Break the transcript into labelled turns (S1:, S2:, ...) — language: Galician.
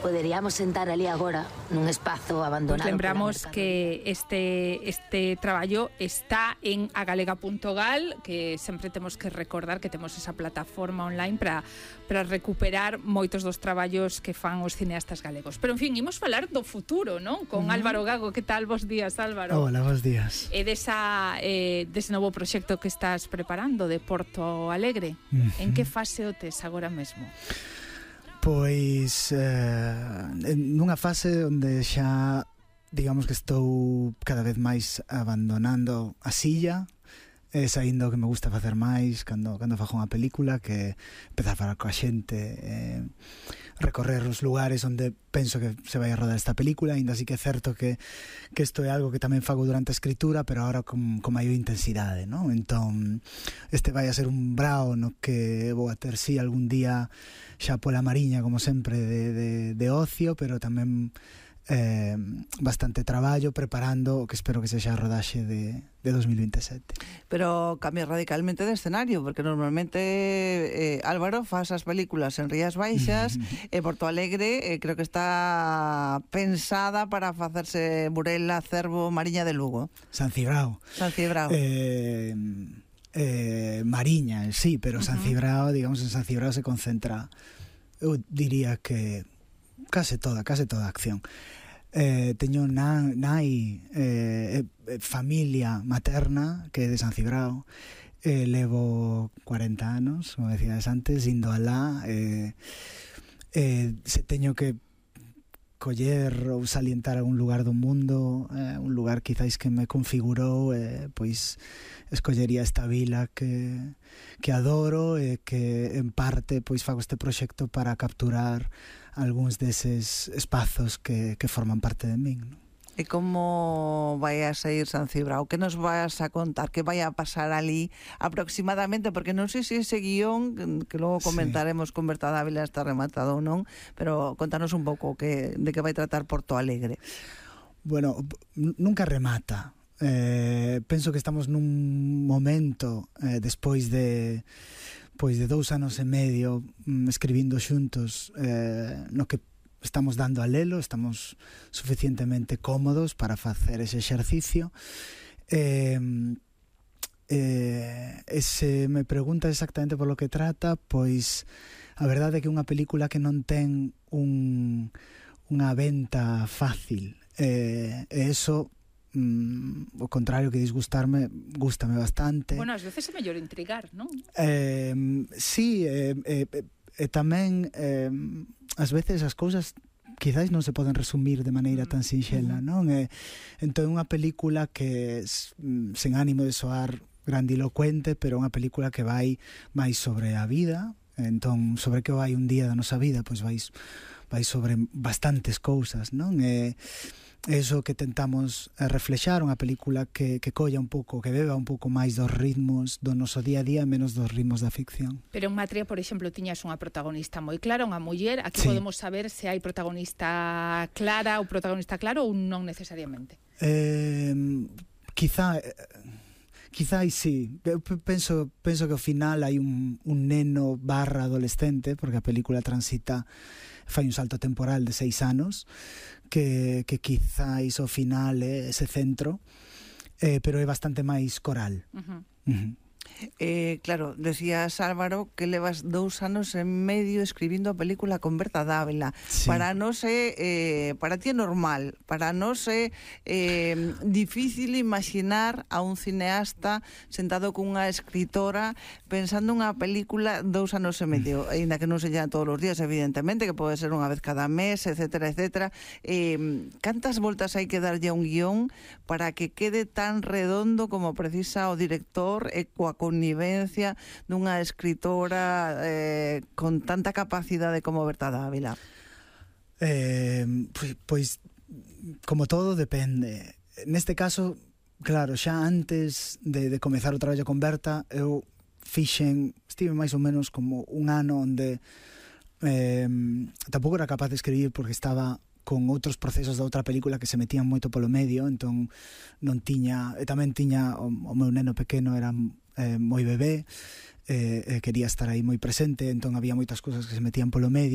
S1: Poderíamos sentar ali agora, nun espazo abandonado.
S2: Pues lembramos que este traballo está en agalega.gal, que sempre temos que recordar que temos esa plataforma online para recuperar moitos dos traballos que fan os cineastas galegos. Pero, en fin, imos falar do futuro, non? Con Álvaro Gago. Que tal? Bos días, Álvaro.
S3: Hola, bos días.
S2: E dese novo proxecto que estás preparando de Porto Alegre. En que fase o tes agora mesmo?
S3: Pois nunha fase onde xa digamos que estou cada vez máis abandonando a silla, saindo o que me gusta facer máis cando fago unha película, que empezar a falar coa xente, recorrer os lugares onde penso que se vai a rodar esta película. Ainda así que é certo que isto é algo que tamén fago durante a escritura, pero agora con maior intensidade, non? Entón, este vai a ser un brao no que vou a ter, sí, algún día xa pola mariña, como sempre, de ocio, pero tamén bastante traballo preparando o que espero que sexa a rodaxe de 2027.
S4: Pero cambia radicalmente de escenario, porque normalmente Álvaro faz as películas en Rías Baixas e Porto Alegre creo que está pensada para facerse Burela, Cervo, Mariña de Lugo.
S3: San Cibrao. Mariña, sí, pero San Cibrao, digamos, en San Cibrao se concentra, eu diría que case toda a acción. Teño nai, familia materna que é de San Cibrao, levo 40 anos, como decías antes, indo alá, se teño que coller ou salientar algún lugar do mundo, un lugar quizáis que me configurou, pois escollería esta vila que adoro e que en parte pois fago este proxecto para capturar algúns deses espazos que forman parte de min, non?
S4: E como vai a sair San Cibrao? Que nos vas a contar? Que vai a pasar ali aproximadamente? Porque non sei se ese guión, que logo comentaremos con Berta Dávila, está rematado ou non, pero contanos un pouco de que vai tratar Porto Alegre.
S3: Bueno, nunca remata. Penso que estamos nun momento, despois de 2 anos e medio escribindo xuntos, no que estamos dando a lelo, estamos suficientemente cómodos para facer ese exercicio. Se me pregunta exactamente por lo que trata, pois a verdade é que é unha película que non ten unha venta fácil, e eso, o contrario que disgustarme, gústame bastante.
S2: Bueno, ás veces é mellor intrigar, non?
S3: Sí, tamén ás veces as cousas quizáis non se poden resumir de maneira tan sinxela, non? Entón, unha película que sen ánimo de soar grandilocuente, pero unha película que vai máis sobre a vida. Entón, sobre que vai un día da nosa vida, pois vai sobre bastantes cousas, non? Eso que tentamos reflexar, unha película que colla un pouco, que beba un pouco máis dos ritmos do noso día a día, menos dos ritmos da ficción.
S2: Pero en Matria, por exemplo, tiñas unha protagonista moi clara, unha muller. Aquí podemos saber se hai protagonista clara ou protagonista claro ou non necesariamente.
S3: Quizás sí. Eu penso que ao final hai un neno / adolescente, porque a película fai un salto temporal de 6 anos, que quizáis ao final é ese centro, pero é bastante máis coral.
S4: Claro, decías, Álvaro, que levas 2 anos e medio escribindo a película con Berta Dávila. Sí. Para nós para ti é normal, para nós é difícil imaginar a un cineasta sentado con unha escritora pensando unha película 2 anos e medio, ainda que non sella todos os días, evidentemente, que pode ser unha vez cada mes, etcétera, etcétera. Cantas voltas hai que darlle a un guión para que quede tan redondo como precisa o director e coa connivencia dunha escritora con tanta capacidade como Berta Dávila?
S3: Pois como todo depende. Neste caso, claro, xa antes de comezar o traballo con Berta, eu estive máis ou menos como un ano onde tampouco era capaz de escribir porque estaba con outros procesos da outra película que se metían moito polo medio, entón non tiña, e tamén tiña o meu neno pequeno era moi bebé, quería estar aí moi presente, entón había moitas cousas que se metían polo medio.